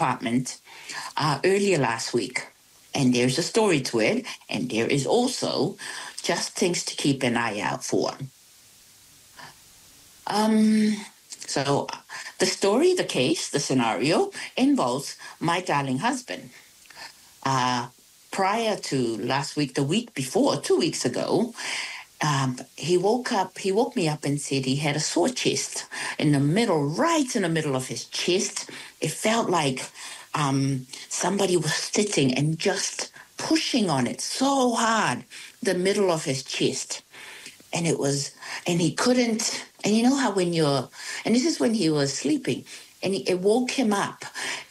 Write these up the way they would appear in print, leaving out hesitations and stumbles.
department earlier last week. And there's a story to it, and there is also just things to keep an eye out for. So the story, the case, the scenario involves my darling husband. Prior to last week, the week before, 2 weeks ago, he woke up, he woke me up and said he had a sore chest in the middle, right in the middle of his chest. It felt like somebody was sitting and just pushing on it so hard, the middle of his chest. And it was, and he couldn't, and you know how when you're, and this is when he was sleeping, and it woke him up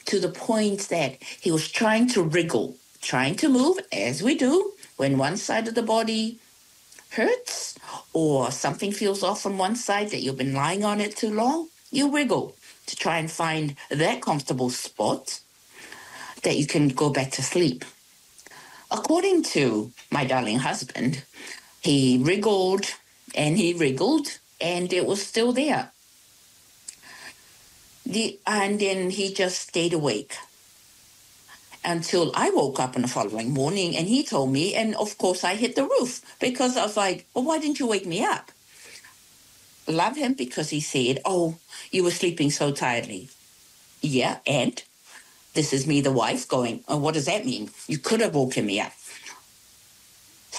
to the point that he was trying to wriggle, trying to move, as we do when one side of the body hurts or something feels off on one side that you've been lying on it too long, you wriggle to try and find that comfortable spot that you can go back to sleep. According to my darling husband, he wriggled and he wriggled and it was still there. And then he just stayed awake until I woke up on the following morning and he told me, and of course I hit the roof because I was like, "Well, why didn't you wake me up?" Love him because he said, "Oh, you were sleeping so tiredly." Yeah, and this is me, the wife, going, "Oh, what does that mean? You could have woken me up."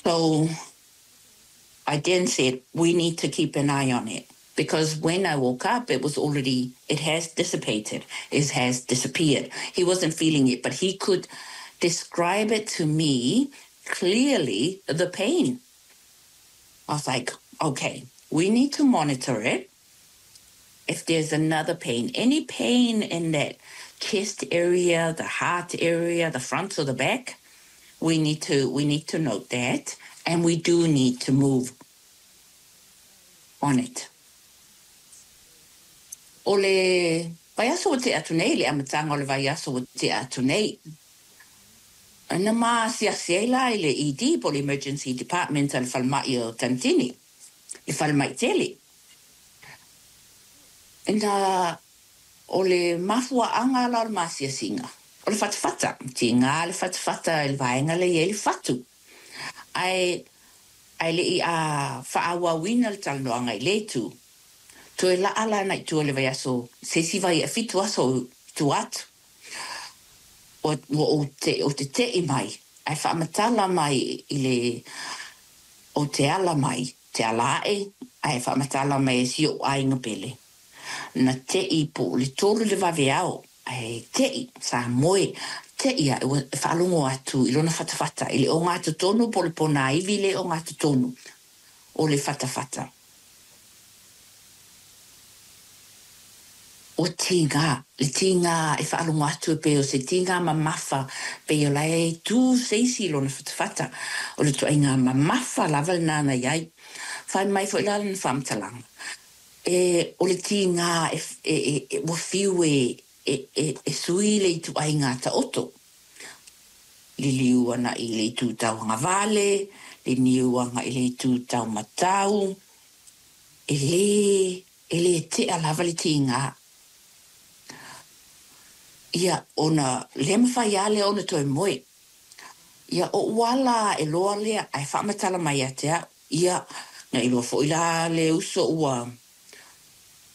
So I then said, "We need to keep an eye on it." Because when I woke up, it was already, it has dissipated, it has disappeared. He wasn't feeling it, but he could describe it to me clearly, the pain. I was like, "Okay, we need to monitor it. If there's another pain, any pain in that chest area, the heart area, the front or the back, we need to note that, and we do need to move on it." O le vaiaso ua tea atu nei, le amataga o le vaiaso ua tea atu nei, na ma asiasi ai la i le ED po o le Emergency Department a le falemai o Tanitini, le falemai tele. Na o le mafuaaga la o le maasiasiga, o le fatafata, tigā le fatafata i le vaega lea e i ai le fatu. Ae le'i a faaauauina le talanoaga i lē itu. Toe laa la agai i tua i le vaiaso se isi vai 7 aso tua atu. Ua ou te ou te te'i mai ae faamatala mai i le ou te ala mai te ala aʻe ae faamatala mai e si oʻu aiga pele. Na te'i po o le 3 i le vaveao ae te'i sa moe te'i aʻe ua faalogo atu i lona fatafata i le ogatotonu po o le ponaivi le ogatotonu o le fatafata. Ua tigā le tigā e faalogo atu e pei o se tigā mamafa pei o la e tū se isi i lona fatafata. O le ituaiga mamafa lava lenā na i ai. Fai mai foi la lana faamatalaga, e o le tigā e e e ua fiu e e e e sui le ituaiga taoto. Liliu agai i le itu tauagavale, liliu agai i le itu taumatau, e lē e lē tea lava le tigā. Ia, ona lē mafai lava lea ona toe moe. Ia, oʻu ala aʻe loa lea ae faamatala mai ia te a'u. Ia, na iloa foi la le uso ua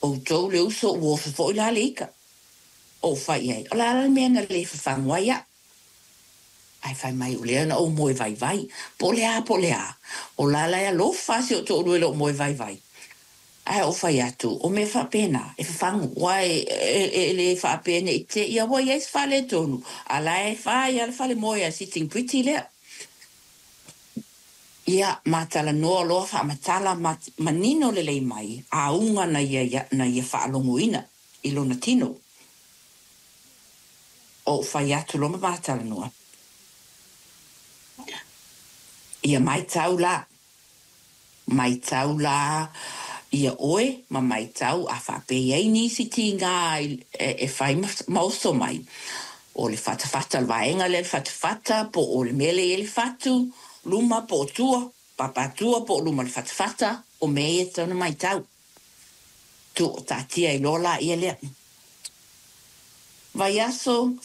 outou le uso ua oso foi la le ika. Ou fai i ai, o le a la le mea na lē fafagu ai a'u? Ae fai mai, o lea na ou moe vaivai. Po o le a, po o le a. O la la e alofa si ou toalua i lou moe vaivai. Ae ou fai atu, o mea faapena, e fafagu, aua e lē faapea ne i te i ua i ai se faaletonu, a o la e fai lava le falemoe a Sitting Pretty lea. Ia, ma talanoa loa faamatala ma manino lelei mai auga na ia na ia faalogoina i lona tino. Ou fai atu loa ma ma talanoa. Ia maitau la. Maitau la ia oe ma maitau a faapea e i ai nisi tigā e fai ma oso mai. O le fatafata o le vaega lea le fatafata po o le mea lea e i ai le fatu, luma po o tua, papatua po o luma o le fatafata, o mea ia e tatau ona maitau. Tuu taatia ai loa laia lea. Vaiaso.